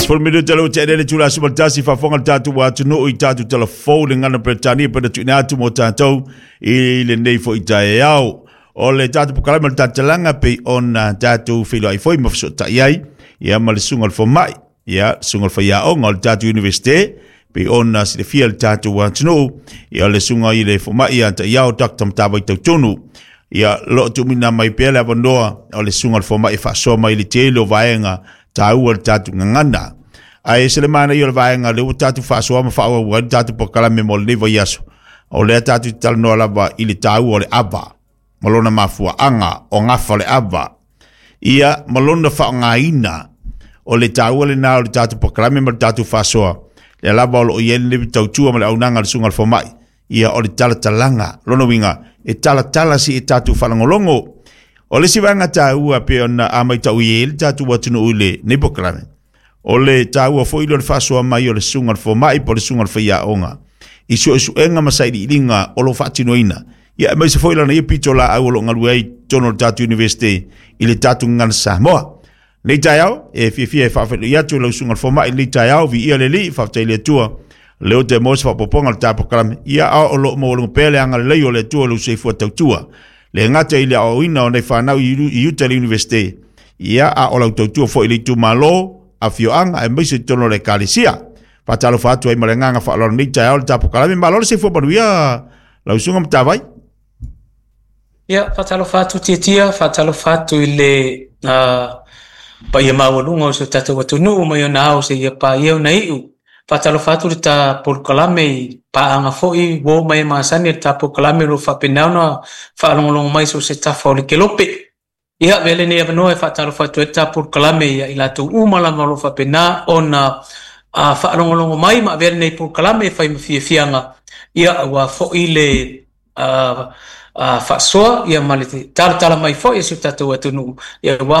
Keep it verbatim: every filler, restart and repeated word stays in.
Sefulu minute lea ua tea nei le itula e sefulutasi, faafofoga le tatou atunuu i tatou talafou le gagana Peretania pe na tuuina atu mo tatou i lenei foi taeao. O le tatou polokalame o le tautalaga pei ona tatou feiloai foi ma fesootai ai ia ma le susuga o le fomai, ia susuga o le faiaoga o le tatou Iunivesite pei ona silafia le tatou atunuu, ia le susuga i le fomai ia Taiao Doctor Matavai Tautonu. Ia loo tuuina mai pea le avanoa o le susuga o le fomai e faasoa mai le tele o vaega taua le tatou gagana. Ae se le manaia o le vaega lea ua tatou faasoa ma faaauau ai le tatou polokalame mo lenei vaiaso. O lea tatou te talanoa lava i le taua o le ava ma lona mafuaaga o gafa o le ava, ia ma lona faaaogaina. O le taua lena o le tatou polokalame ma le tatou faasoa, lea lava o loo i ai lenei tautua ma le auaunaga a le susuga i le fomai. Ia o le talatalaga, lona uiga e talatala si e tatou faalogologo. O le isi vaega taua pei ona a matau i ai le tatou atunuu i lenei polokalame, o le taua foi lea o le faasoa mai o le susuga i le fomai po o le susuga i le faiaoga i suesuega ma sailiiliga o lo o faatinoina, ia aemaise foi lana ia pitolaau o lo o galue ai i totonu o le tatou Iunivesite i le tatou gagana Samoa. Lenei taeao, e fiafia e faafeiloai atu lau susuga i le fomai i lenei taeao, viia le Alii, faafetai i le Atua, lea ua toe maua se faaopoopoga o le ta polokalame, ia a o lo o maualuga pea le agalelei o le Atua i lou soifua tautua. Le gata i le aoaoina o nai fanau i uta i le Iunivesite, ia a o lau tautua foi i le itumalo, afioaga, aemaise i totonu o le Ekalesia. Faatalofa atu ai ma le agaga faaaloalo lenei taeao i le ta polokalame, malo le soifua manuia lau susuga Matavai. Ia, faatalofa atu Tiatia, faatalofa atu i le uh, paia maualuga o si o tatou atunuu mai ona ao seia paia ona iu. Faatalofa atu le ta polokalame i paaga foi uo ma e masani le ta polokalame o lo o faapena ona faalogologo mai so o se tafa o le kelope. Ia, avea lenei avanoa e faatalofa atu ai le ta polokalame ia i latou uma lava o lo o faapena ona uh, faalogologo mai ma avea lenei polokalame e fai ma fiafiaga, ia aua foi le uh, uh, faasoa ia ma le talatala mai foi e si o tatou atunuu ia ua